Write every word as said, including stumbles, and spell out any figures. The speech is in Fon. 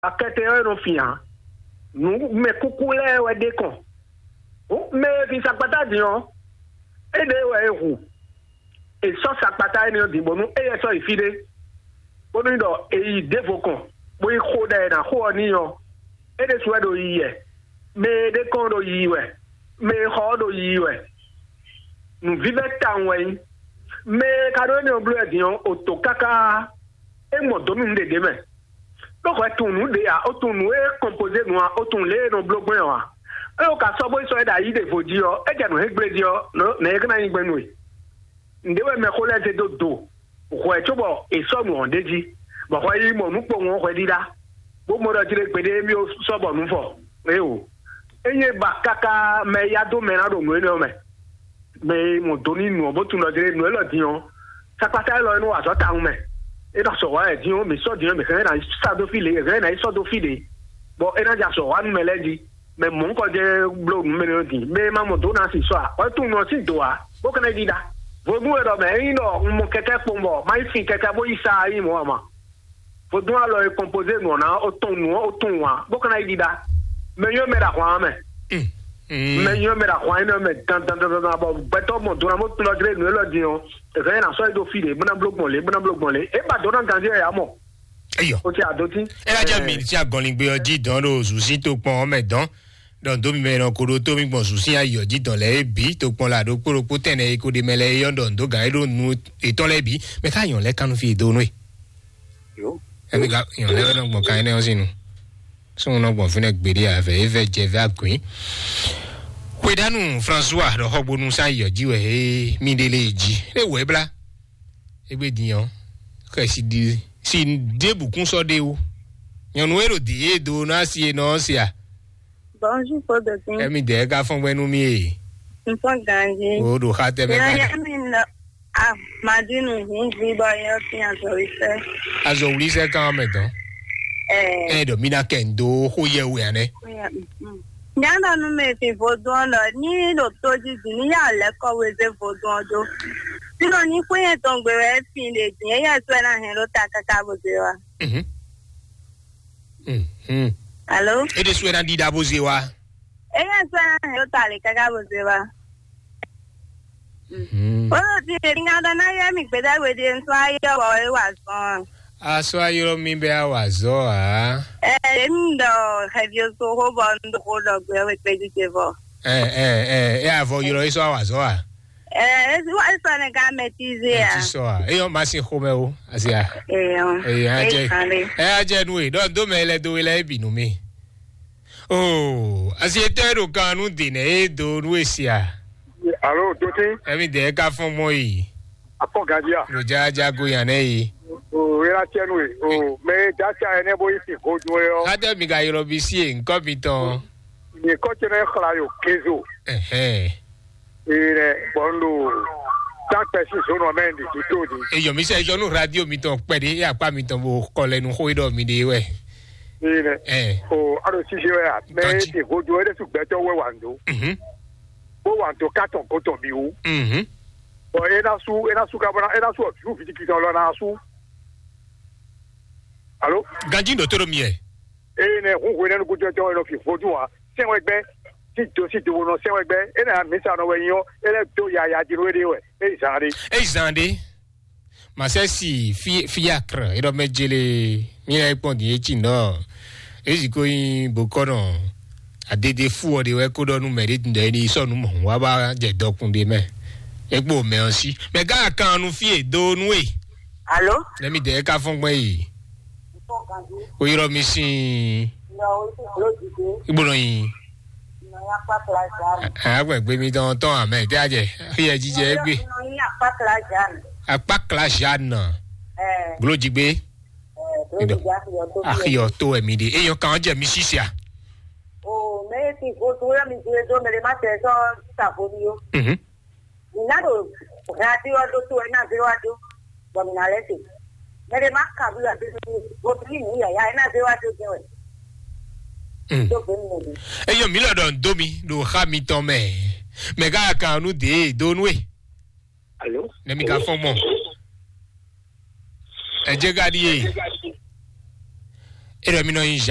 Akɛtɛ ɔ́ e nɔ fin ǎ. Nǔ mɛ kúkú lɛ́ɛ wɛ ɖe kɔn. Hǔn mɛ e fin sakpatá din ɔ́, éɖée wɛ é hu. È sɔ́ sakpatá énɛ́ ɔ́ din bónú éyɛ́ sɔ́ yi fí ɖé, bónú ɖɔ è yi ɖěvo kɔn, bó yi xo ɖɛ è nǎ xo ɔ́ n'i ɔ́, é ɖésú wɛ ɖo yiyi wɛ. Mɛ e ɖe kɔn ɖo yiyi wɛ, mɛ e xɔ ɔ́ ɖo yiyi wɛ. Nǔvívɛ́ tawun wɛ nyí. Mɛ e ka ɖó énɛ́ ɔ́ bló wɛ din ɔ́, o to káká, é gbɔn dǒ nú nǔɖé ɖě mɛ. Ɖó hwɛ tunwun nǔ ɖě ǎ, ó tunwun nǔ e kɔnpozé nǔ ǎ, ó tunwun lě e è nɔ bló gbɔn ɔ́ ǎ. Ée o ka sɔ́ bó yi sɔ́ é ɖo ayi ɖěvo jí ɔ́, é jɛ nǔ hɛn gblé jí ɔ́, nɛ̌ é ná nyí gbɛn nú we? Nǔɖé wɛ mɛxó lɛ́ɛ zé dó do hwɛ cóbɔ è sɔ́ nǔ ɔ́ ɖ'é jí, bɔ hwɛ yi mɔ nǔ kpowun ɔ́ hwɛ ɖíɖá, bó mɔ ɖɔ jí ɖé gbeɖé émí ó sɔ́ bɔ nǔ fɔ. Éeǒ, é nyí ba káká mɛ e yá dó mɛ ná ɖo nǔ énɛ́ ɔ́ mɛ. Mɛ e mɔ do n'i nǔ ɔ́ bó tunwun ɖɔ jí nǔ élɔ́ din ɔ́, sakpata élɔ́ é nɔ wa azɔ̌ tawun mɛ. É nɔ sɔ̌ hwá wɛ din ɔ́, mǐ sɔ́ din ɔ́, mǐ hɛn ná yi sá dó fí lě, mǐ hɛn ná yi sɔ́ dó fí lě, bɔ é ná jɛ azɔ̌ wa nú mɛ lɛ́ɛ jí. Mɛ mɔ̌hunkɔtɔn jɛ́n bló nǔ mɛ nɛ́ ɔ́ din, mɛ e ma mɔ dǒ ná sin sɔ́ ǎ, wɛ tunwun ɔ́ sín dǒ ǎ, bó ka ná yi ɖiɖa. Vodún e ɖɔ mɛ, ényí ɖɔ un mɔ kɛkɛ́ kpɔ́n bɔ má yi fin kɛkɛ́ bó yi sa ɔ́, é nyí mɔ̌ ǎ ma. Vodún alɔ e kɔnpozé nǔ ɔ́ ná ó tɔn nǔ ɔ́ ó tunwun ǎ, bó ka ná yi ɖiɖa. Mɛ nyɔ́ mɛ ɖo ahwan ɔ́ mɛ. Mɛ nyɔ́ mɛ ɖo ahwan énɛ́ mɛ dandandandan bɔ gbɛtɔ́ mɔ dó ná bó tunɔ jlé nǔ élɔ́ din ɔ́, è hɛn ná sɔ́ yi ɖo fí ɖě, bó ná bló gbɔn lě, bó ná bló gbɔn lě. É ba dó ná ganjí wɛ ǎ mɔ. Eyɔ. Ó ti adó tí. Ela dza mi ti agɔnlingbe ɔ jí dɔn ɖo zuzí tokpɔn ɔ́ mɛ dɔn. Ɖɔ ndo mi mɛ nɔ ko ɖo tó mi gbɔn zuzí ayɔ jí dɔn lɛ é bǐ tokpɔn la ɖokpó ɖokpó tɛnɛ e ko ɖe mɛ lɛ é yɔ ɖɔ ndo gǎn é ɖo nu etɔn lɛ bǐ. Mɛ ká yɔn lɛ kanu fi do nue. Yo. Ɛmi ka yɔn lɛ nɔ gbɔn kan énɛ́ ɔ́ sín nu. Sɔn nɔ gbɔn fínɛ gbeɖé avɛ é vɛ jɛ vɛ agbɛn. Xwedanu François ɖɔ xɔgbonu sa yɔ jí wɛ é mi ɖe lé jí. É wɛ bla. Égbé din ɔ́, xɛsi ɖi si ɖěbǔ kún sɔ́ ɖe wú. Nyɔ̌nu e ɖo dǐ e do ná si e nɔ ɔ́ se a? Bonjour, Paul Dokin. Ɛmi dɛɛ ka fɔn gbɛ nú mì e. N fɔn ganji. O ɖo xa tɛ mɛ. Yaya mi nɔ a madinu hun vi bɔ yɔ fi azɔwisɛ. Azɔwisɛ kan mɛ dɔn. Ɛɛ. Ɛ ɖɔ mi na kɛ n do xó yɛ wɛ anɛ. Nyana nu mɛ fi vodun ɔ́ ɖɔ ní ɖo tó jí dì ní yà lɛ́ kɔ wezé vodun ɔ́ dó. Sínɔ ní xwé yẹn tɔn gbe wɛ fi ɖe dì é yɛ sɔ́ ɛ ná hɛn ɖó ta káká bó zé wa. Mhm. Mhm. Alo? E ɖe sɔ́ ɛ ná ɖiɖa bó zé wa. É yɛ sɔ́ ɛ ná hɛn ɖó ta lě káká bó zé wa. Mhm. Ó lɔ ti èmi ná ɖɔ ná yɛ mi gbédá we ɖe nsó ayé wɔ é wà zɔn. Asɔ ayɔrɔ mi bɛ awa zɔ a? Ɛ èmi ɖɔ xɛvi oso xó bɔ un ɖo xó ɖɔ gbé wɛ kpé jíjẹ vɔ. Ɛ ɛ ɛ ɛ avɔ yɔrɔ yi sɔ awa zɔ a? Ɛ esi wa sɔ ne ka mɛtize a? Ti sɔ a? Eyɔ ma si xomɛ o asi a? Eyɔ. Eyɔ ajɛ. Eyɔ ajɛ nu e ɖɔ do mɛ lɛ do e lɛ ebi nu mi. Oo, asi etɔ e ɖo kan nu de nɛ e do nu e si a? Alo dote. Ɛmi dɛ ka fɔn mɔ yi. Akpɔ gadia. Lo ja ja go yan nɛ yi. O era tiɛ nu e o mɛ e da tia ɛnɛ bo yi si godo e ɔ. Adé mi ka yɔrɔ bi si e nkɔ mi tɔn. Nyɛ kɔ tɛ nɛ xla yo kezo. Ɛhɛn. Ee nɛ bɔn lo. Takpɛ si zɔn nɔ mɛ ndi ti to di. Eyɔ mi sɛ zɔn nu radio mi tɔn kpɛ de e akpa mi tɔn bo kɔ lɛ nu xo e ɖɔ mi de wɛ. Ee nɛ. Ɛ. O alo sise wɛ a mɛ e ti godo e de su gbɛtɔ wɛ wa ndo. Mhm. Bó wa dó kátɔn gotɔn mì wú. Mhm. Bɔn é ná sú é ná sú ká bó ná é ná sú ɔ̀dúrú fìdíkì tɔn lɔ ná sú. Alo. Ganji ɖo tó ɖo mi yɛ. Eye nɛ hun hwenɛ́nu gúdo tɔn é nɔ fi vodún ǎ sɛn wɛ gbɛ tí do sí do nɔ sɛn wɛ gbɛ é nɛ mǐsa nɔ wɛ nyí ɔ́ é lɛ́ dó yaya jló é ɖe wɛ é zǎn ɖé. Eyi zan ɖe. Masɛsi fi fiakre eɖɔ mɛ jele mi lɛ kpɔn din etsi nɔ ezi ko nyi bokɔnɔ adede fu ɔ de wɛ ko ɖɔ nu mɛ ɖe tun ɖe ni sɔ nu mɔ wa ba jɛ dɔkun de mɛ ekpo mɛ ɔ si mɛ gã kan nu fi e do nu e. Alo. Ne mi dɛ ka fɔn gbɛ yi. O yɔrɔ mi sin. Igbonɔ yi. Agbègbè mi tɔn tɔn amɛ tɛ ajɛ xiyɛ jijɛ egbe. Akpakla Jeanne. Glo jigbe. Axiyɔ to wɛ mi ɖe eyɔ kan jɛ mi sisia. O mɛ ti vo to yɔ mi do edo mɛ le ma tɛ sɔ ta vo mi yo. Mhm. Ina do radio do to ina zero ado. Bɔ mi na lɛ se. Mɛ le ma ka bi la bi vo mi ni yaya ina zero ado jɛ wɛ. Mm. Do be mi ne. Eyɔ mi lɔ dɔn do mi do xa mi tɔn mɛ. Mɛ ka kan nu de do nu e. Alo. Ne mi ka fɔ mɔ. Ɛ jɛ ka di ye. É ɖɔ mì nɔ nyi Jacques